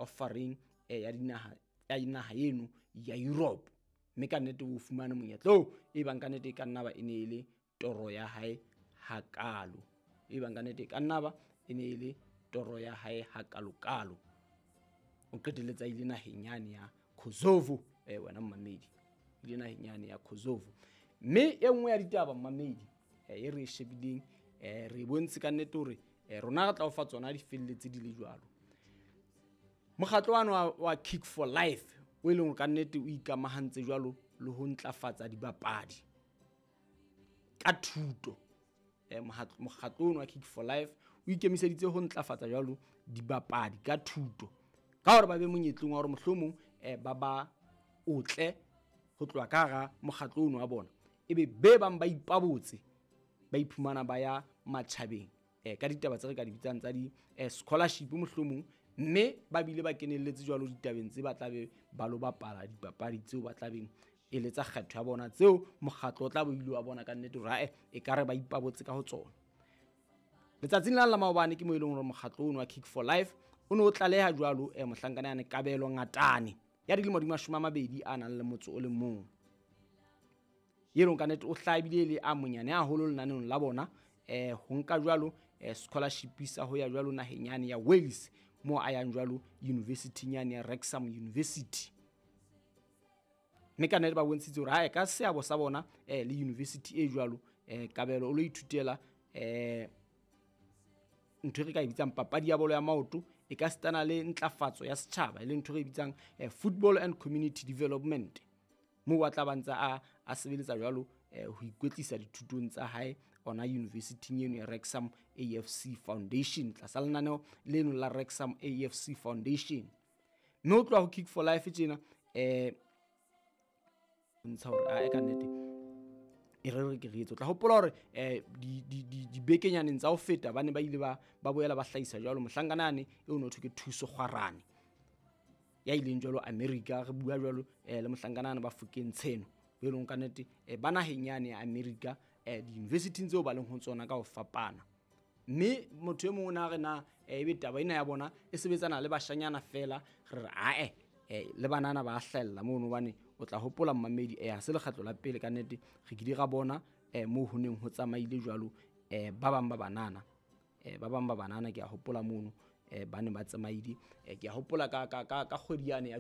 offereng ya dinaha ya naha eno ya Europe. Mme ka nnete o fumane monyetla oo e bang ka nnete e ka nna ba e ne e le toro ya hae hakalo. E bang ka nnete e ka nna ba e ne e le toro ya hae hakalo-kalo. O qetelletse a ile naheng yane ya Kosovo, wena mmamedi. Ile naheng yane ya Kosovo. Mme e nngwe ya ditaba mmamedi e re e shebileng, re e bontshe ka nnete hore rona re tla o fa tsona di felletse di le jwalo. Mokgatlo wano wa Kick for Life o e leng hore ka nnete o ikamahantse jwalo le ho ntlafatsa dibapadi ka thuto. Mokgatlo ono wa Kick for Life o ikemiseditse ho ntlafatsa jwalo dibapadi ka thuto, ka hore ba be monyetleng wa hore mohlomong ba ba otle ho tloha ka hara mokgatlo ono wa bona, ebe be bang ba ipabotse ba iphumana ba ya matjhabeng ka ditaba tse re ka di bitsang tsa di scholarship mohlomong, mme ba bile ba kenelletse jwalo ditabeng tse ba tla be ba lo bapala dipapadi tseo ba tla beng e le tsa kgetho ya bona, tseo mokgatlo o tla bo ile wa bona ka nnete hore ae e ka re ba ipabotse ka ho tsona. Letsatsing la la maobane ke mo e leng hore mokgatlo ono wa Kick for Life o ne o tlaleha jwalo mohlankana yane Kabelo Ngatane ya dilemo di 20 a nang le motso o le mong, e leng ka nnete o hlabile le a monyane haholo lenaneong la bona ho nka jwalo scholarship sa ho ya jwalo naheng yane ya Wales, mo a yang jwalo university yane ya Wrexham University. Mme ka nnete ba bontshitse hore hae ka seabo sa bona le university e jwalo, Kabelo o lo ithutela ntho e re ka e bitsang papadi ya bolo ya maoto, e ka sitana le ntlafatso ya setjhaba, e leng ntho e re e bitsang football and community development, moo a tla ba ntse a sebeletsa jwalo ho ikwetlisa dithutong tsa hae ona university eno ya Wrexham AFC Foundation, tlasa lenaneo leno la Wrexham AFC Foundation. Mme ho tloha ho Kick for Life tjena ntsha hore a ka nnete e re re ke re etse. O tla hopola hore dibekenyaneng tsa ho feta ba ne ba ile ba boela ba hlahisa jwalo mohlankana yane eo no thwe ke Thuso Kgwarane ya ileng jwalo America. Re bua jwalo le mohlankana yane ba Fokeng Tsheno, bo e leng ka nnete ba naheng yane ya America, di-university tseo ba leng ho tsona ka ho fapana. Mme motho e mong o na re na ebe taba ena ya bona e sebetsana le bashanyana fela, re re ae le banana ba hlahella mono, hobane o tla hopola mmamedi ha se lekgetlo la pele ka nnete re kile ra bona moo ho neng ho tsamaile jwalo ba bang ba banana, ba bang ba banana ke a hopola mono ba ne ba tsamaile, ke a hopola ka kgwedi yane ya